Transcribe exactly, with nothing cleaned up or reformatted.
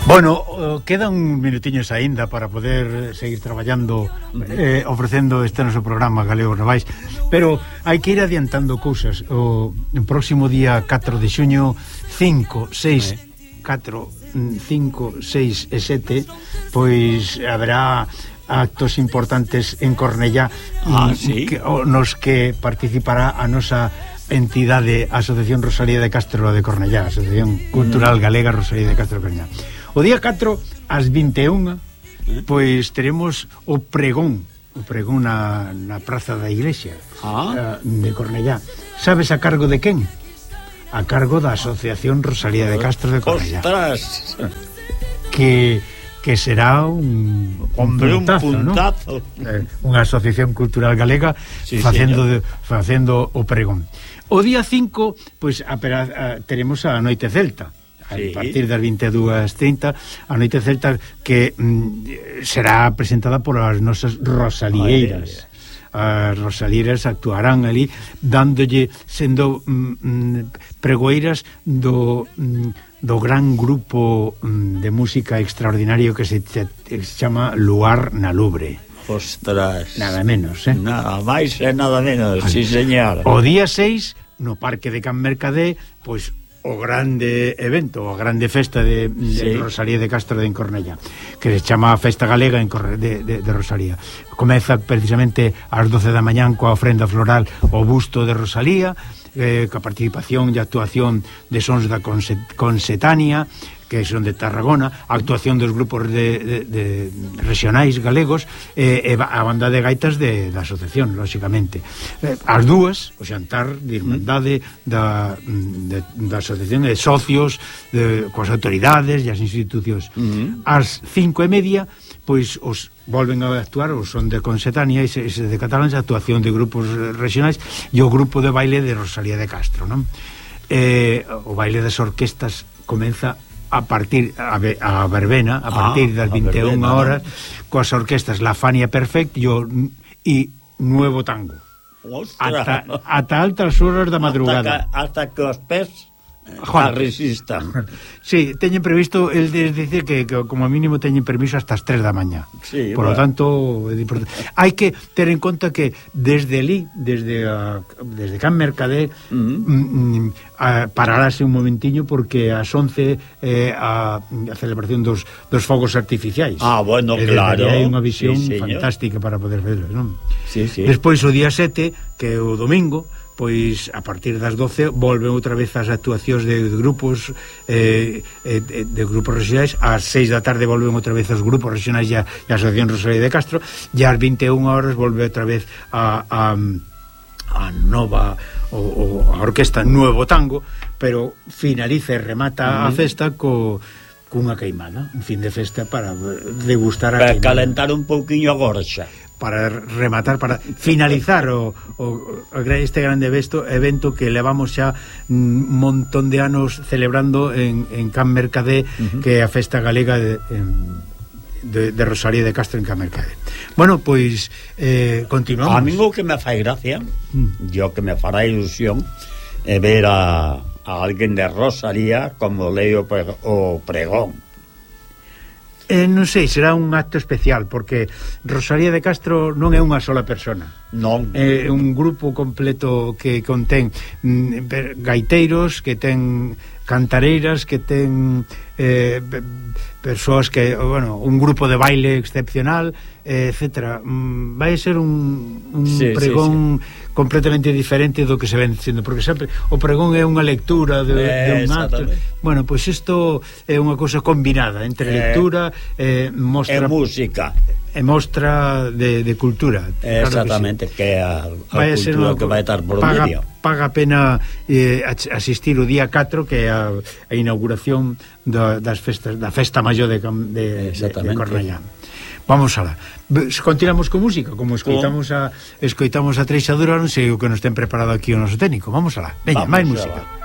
Bueno, quedan minutiños aínda para poder seguir traballando, eh, ofrecendo este noso programa Galegos Novais, pero hai que ir adiantando cousas. O próximo día catro de xuño, cinco, seis, catro, cinco, seis e sete, pois haberá actos importantes en Cornellá, ah, ¿sí? que, nos que participará a nosa entidade Asociación Rosalía de Castro de Cornellá, Asociación Cultural Galega Rosalía de Castro de Cornellá. O día catro, ás vinte e unha, pois teremos o pregón, o pregón na, na praza da iglesia ah. de Cornellá. Sabes a cargo de quen? A cargo da Asociación Rosalía de Castro de Cornellá. ¡Ostras! Que, que será un, Hombre, un puntazo, un puntazo. ¿No? Eh, unha asociación cultural galega, sí, facendo, de, facendo o pregón. O día cinco, pois a, a, teremos a Noite Celta. A sí. partir das vinte e dúas e trinta, a Noite Celta, que mm, será presentada por as nosas rosalieras. As rosalieras actuarán ali dándolle, sendo mm, pregoeiras do, mm, do gran grupo mm, de música extraordinario que se, se, se chama Luar na Lubre. Ostras, nada menos, eh? Nada máis e nada menos, sí, señor. O día seis, no Parque de Can Mercadé, pois o grande evento, a grande festa de, de sí. Rosalía de Castro de Cornellá, que se chama Festa Galega en Corre, de, de, de Rosalía. Comeza precisamente ás doce da mañán coa ofrenda floral o busto de Rosalía, eh, coa participación e actuación de sons da Consetania, que son de Tarragona, a actuación dos grupos de, de, de regionais galegos, e eh, a banda de gaitas de, da asociación, lóxicamente. Eh, as dúas, o xantar de irmandade da, de, da asociación de socios, de, coas autoridades e as institucións. Uh-huh. As cinco e media, pois os volven a actuar, os son de Consetania e ese de Catalans, a actuación de grupos regionais e o grupo de baile de Rosalía de Castro, non? Eh, o baile das orquestas comeza a partir a, a verbena a partir das vinte e unha horas, coas orquestas La Fania Perfect e o e Nuevo Tango. Ata, ata altas horas da madrugada. Hasta que, hasta que os pés a resistan. Sí, teñen previsto el de decir que, que como mínimo teñen permiso hasta as tres da mañá. Sí, por lo bueno. tanto, hai que ter en conta que desde ali, desde a, desde Can Mercadé, uh-huh. mm, a, pararase un momentiño porque ás once eh, a, a celebración dos, dos fogos artificiais. Ah, bueno, e claro. Hai unha visión sí, fantástica para poder verlos, non? Sí, sí. Despois o día sete, que é o domingo, pois a partir das doce volven outra vez as actuacións de, de grupos eh, eh, de grupos regionais. Ás seis da tarde volven outra vez os grupos regionais e a, a Asociación Rosalía de Castro, e ás vinte e unha horas volve outra vez a, a, a nova o, o, a orquesta Nuevo Tango, pero finaliza e remata uh-huh. a festa co cunha queimada, un fin de festa para degustar a para queimada, calentar un pouquiño a gorxa, para rematar, para finalizar o, o, este grande evento, evento que levamos xa un montón de anos celebrando en, en Can Mercadé, uh-huh. que é a festa galega de, de, de Rosalía de Castro en Can Mercadé. Bueno, pois eh, continuamos. A mí o que me fai gracia, mm. yo que me fará ilusión, é ver a, a alguén de Rosalía como leo o pregón. Eh, non sei, será un acto especial porque Rosalía de Castro non é unha sola persona, non é un grupo completo que contén mm, gaiteiros, que ten cantareiras, que ten eh, persoas que, bueno, un grupo de baile excepcional, eh, etcétera. Mm, vai ser un, un sí, pregón sí, sí. completamente diferente do que se ven sendo, porque sempre o pregón é unha lectura de, eh, de un acto. Bueno, pois pues isto é unha cousa combinada entre eh, lectura eh, mostra, e música e mostra de, de cultura. Exactamente, claro que, sí. que é a, a cultura que vai estar por paga, medio. Paga pena eh, asistir o día catro, que é a, a inauguración da, das festas, da festa maior de, de, de, de Cornellá. Vamos alá. Continuamos con música, como escoitamos a escoitamos a Treixadura, non sei o que nos ten preparado aquí o noso técnico. Vamos alá. Veña, máis música.